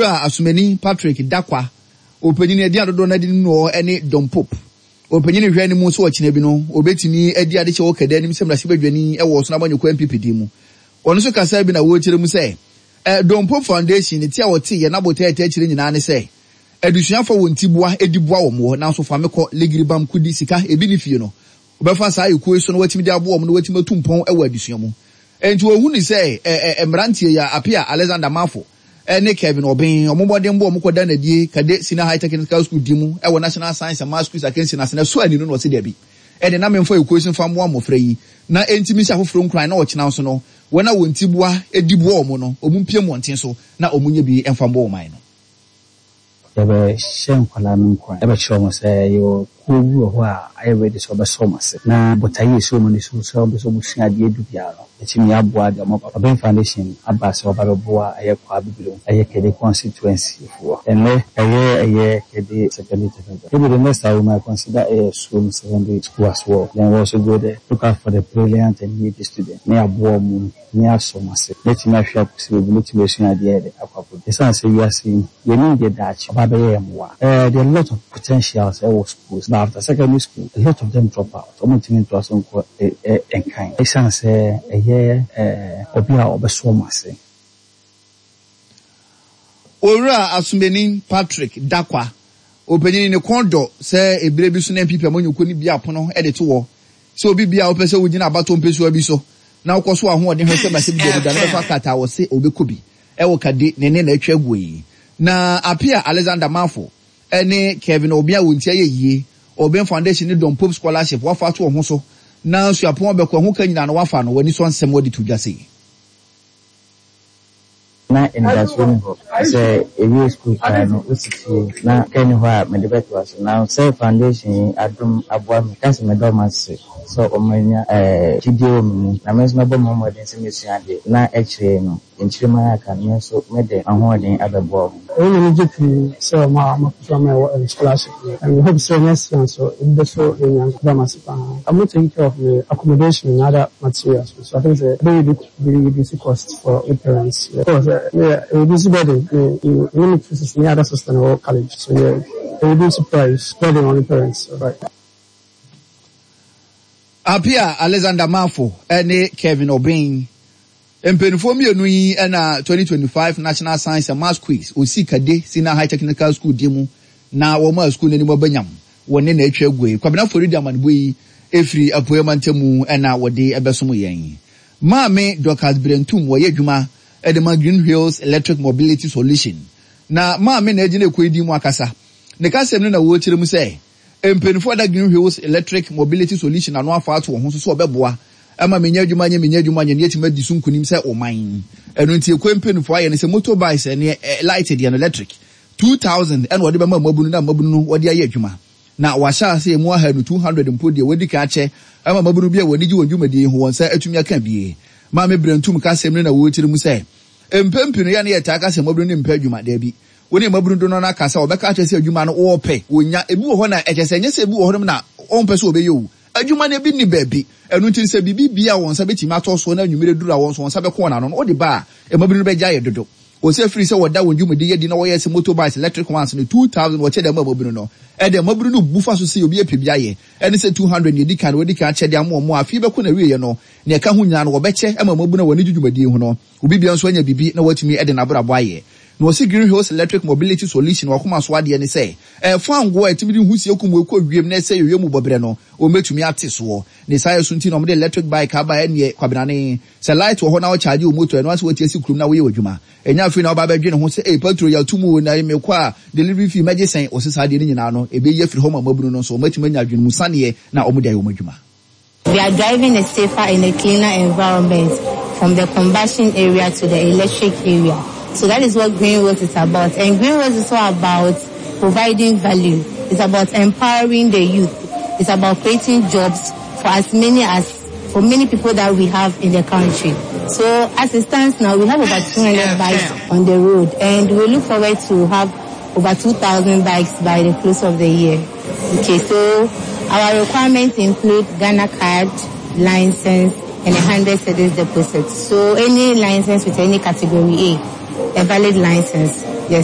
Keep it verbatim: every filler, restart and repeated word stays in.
Owura Asomani Patrick Dakwa, ɔpanyin adi adodoɔ no adi no ne Don Pope. Ɔpanyin hwɛ anim nso ɔkyena bi no obetumi adi adekyɛ wɔ Kade anim sɛ mmarahyɛbadwani wɔ Ɔsono Amanyɔkuo N P P din mu. Ɔno nso kasa bi na wɔrekyerɛ mu sɛ ɛ Don Pope Foundation ne ti a wɔte yɛ n'abotɛ ɛtɛ akyire nyinaa ne sɛ adusuafo wɔn ti boa edi boa wɔn wɔ, nanso fame kɔ ligiribam kudi sika ebi ne fie no wɔbɛfa saa ekuo yi so na wɔatumi de aboa wɔn na wɔatumi atu mpɔn wɔ adesua mu. Nti ohun ni sɛ ɛ ɛ mmeranteɛ yi a Apia Alexander Mafo ɛne Kevin Ɔbɛn, ɔmo bɔden bɔ ɔmo kɔda n'adie Kade Senior High Technical School di mu ɛwɔ National Science and Maths Quiz akansi n'ase na so ani no na ɔsi dɛbi, ɛde na memfa ekuo yi so mfa mmoa mmɔfra yi na ntumi nhyɛ afoforɔ nkuran na ɔkyena nso no wɔn a wɔn ti boa edi boa wɔn no, wɔn mpie mmɔnten so na wɔn nyɛ bi mfa mboa ɔman no. Yɛbɛhyɛ nkwadaa no nkuran, yɛbɛkyerɛ wɔn sɛ yɛwɔ kuo bi wɔ hɔ a ayɛ ready sɛ ɔbɛsɔ wɔn ase na botaeɛ esi wɔn ani so sɛ wɔbɛ sɛ wɔsua adeɛ du biara no, yɛtumi aboa deɛ ɔmo aba. Ɔbɛn Foundation aba sɛ ɔba bɛboa ɛyɛ Kwa Bibiri, ɛyɛ Kade constituency foɔ. Ɛnɛ ɛyɛ ɛyɛ Kade Secondary Technical. Maybe the next time we might consider ɛyɛ Suom Secondary School as well. Then we also go there, look out for the brilliant and needy student ne aboa ɔmo ne asɔ ɔmo ase ne tumi ahwɛ akɔsi baabi ne tumi asua adeɛ yɛ de akɔ akɔ. Ɛsiane sɛ wiase yi yɛnim deɛ daakye ɔba bɛyɛ yɛn mmoa. ɛɛ there are a lot of potentials ɛwɔ schools, but after secondary school a lot of them drop out. Ɔmo ntumi ntoa so nkɔ ɛ ɛ nkan ɛsiane sɛ ɛyɛ ɛɛ obi a ɔbɛsɔ ɔmo ase. Owura Asomani Patrick Dakwa, ɔpanyin ne kɔn dɔ sɛ ebire bi so na N P P amanyɔkuo no bi apono de to wɔ sɛ obi bia a wopɛ sɛ wogyina abato mpɛsua bi so na wokɔ so ahoɔden hwɛ sɛ mmarahyɛbadwa da no bɛfa krataa wɔ se obɛkɔ bi ɛwɔ Kade ne ne na atwa aguo yi. Na Apia Alexander Mafo ɛne Kevin Obi a wɔn ti ayɛ yie, Ɔbɛn Foundation ne Don Pope Scholarship wafa ato wɔn ho so na suapɔn bɛkɔ ɛho ka nyinaa no wafa no, wɔani sɔ nsɛm wɔde to dwa sei. Na anidasoɔ ni hɔ sɛ ewie sukuu koraa no wosi fie na ka ni hɔ a mede bɛtoa so, na sɛ foundation yi adom aboa me ka sɛ meda ɔmo ase sɛ ɔmo anya ɛɛ gyidie wɔ me mu, na me nso mɛbɔ me ho mmɔden sɛ mesua adeɛ na akyire no nkyirima yɛ aka no, me nso mede ahoɔden abɛboa ɔmo. Ɛyɛ m'ani gye pii sɛ ɔmo a ɔmo apɛ ama ɛwɔ ɛm scholarship no, and we hope sɛ next year nso ebi bɛ so enya dam ase paa. Ɔmo take care of the accommodation and other materials, so I think sɛ ɛbɛ reduce reduce cost for the parents. Yeah. Of course, uh, yeah, it reduce burden. I mean, you you need to see other system or college, so yeah, it reduce price burden on the parents. Right. Apia Alexander Mafo ɛne Kevin Obeng, mpanimfoɔ mmienu yi ɛna twenty twenty-five National Science and Maths Quiz osi Kade Senior High Technical School di mu na wɔn a school n'anim abɛnyam wɔn ne na atwa agu yi. Kwabena Fori di amanebɔ yi efiri Apueɛ mantamu ɛna wɔde ɛbɛsom yɛn. Maame Dorcas Brentum, wɔyɛ adwuma ɛde ma Green Hills Electric Mobility Solution, na maame na egyina ekɔ edi mu akasa. Ne kasɛm no na wɔrekyerɛ mu sɛ mpanimfoɔ da Green Hills Electric Mobility Solution ano afa ato wɔn ho so so ɔbɛboa ama menya adwuma nyɛ menya adwuma nyɛ ne yɛtumi adi so nkunim sɛ ɔman. Ɛno nti ekɔ mpanimfoɔ ayɛ no sɛ motorbikes ɛne ɛ light deɛ no electric two thousand ɛna wɔde bɛma mmabunu na mmabunu no wɔde ayɛ adwuma, na wahyɛ ase emu ahanu two hundred mpo deɛ wɔdi kan akyɛ ama mmabunu bi a wɔn ani gye wɔn dwumadie ho wɔn nsa atumi aka bie. Maame Brentum kasɛm no na wɔrekyerɛ mu sɛ mpɛn no yɛ ne yɛ taa kasɛm mmabunu ne mpɛ adwuma. Daabi, wɔn ne mmabunu do no n'aka sɛ wɔbɛka akyerɛ sɛ adwuma no wɔɔpɛ wɔnya ebi wɔ hɔ na ɛkyɛ sɛ ɛnyɛ sɛ ebi wɔ hɔ nom na wɔmpɛ sɛ wɔbɛyɛ o, adwuma no ebi ni baabi. Ɛno nti sɛ biribi bia wɔn nsa bɛtumi atɔ so na anwummerɛ duru a wɔn nso wɔn nsa bɛkɔ wɔn ano no wɔde ba a, mmabunu no bɛgya ayɛ dodo. Wɔsɛ firi sɛ wɔda wɔn dwumadi yɛ di na wɔyɛ sɛ motorbikes electric ones no two thousand wɔkyɛ dɛm a mmabunu no ɛde mmabunu no bu fa so sɛ obi apɛ bi ayɛ ɛne sɛ two hundred ne edi kan wɔdi kan akyɛ de ama wɔn a afei bɛkɔ na wieɛ no nea ɛka ho nyinaa no wɔbɛkyɛ ama mmabunu a wɔn ani gye dwumadie ho no, obi bia nso anya biribi na wɔatumi de n'abrabɔ ayɛ. Na wɔsi Green Hills Electric Mobility Solution wakoma so adeɛ ne sɛ ɛfa ngo a ɛtumi de husie kum ɛkɔ wiem na ɛsɛ yɛwie mu bɔberɛ no wɔmɛtumi ate soɔ. Ne saa yɛ so nti na wɔde electric bike aba. Ɛneɛ kwabenane sɛ light wɔ hɔ na wɔkyagye wo motor, ɛno ase wɔati asi kurom na woyɛ w'adwuma. Ɛnya afei na wɔba bɛdwene ho sɛ ee petrol yɛato mu o na mekɔ a delivery fee mɛgye sɛn. Wɔsɛ saa adeɛ no nyinaa no ɛbɛyi afiri hɔ ma mmabunu no nso wɔmatumi anya adwene mu saneɛ na wɔde ayɛ wɔn adwuma. We are driving a safer and a cleaner environment from the combustion area to the electric area. So that is what Green Wheels is about. And Green Wheels is all about providing value. It's about empowering the youth. It's about creating jobs for as many as, for many people that we have in the country. So as it stands now, we have over two hundred bikes on the road and we look forward to have over two thousand bikes by the close of the year. Okay, so our requirements include Ghana card, license, and a hundred cedis deposit. So any license with any category A, a valid license. Yes.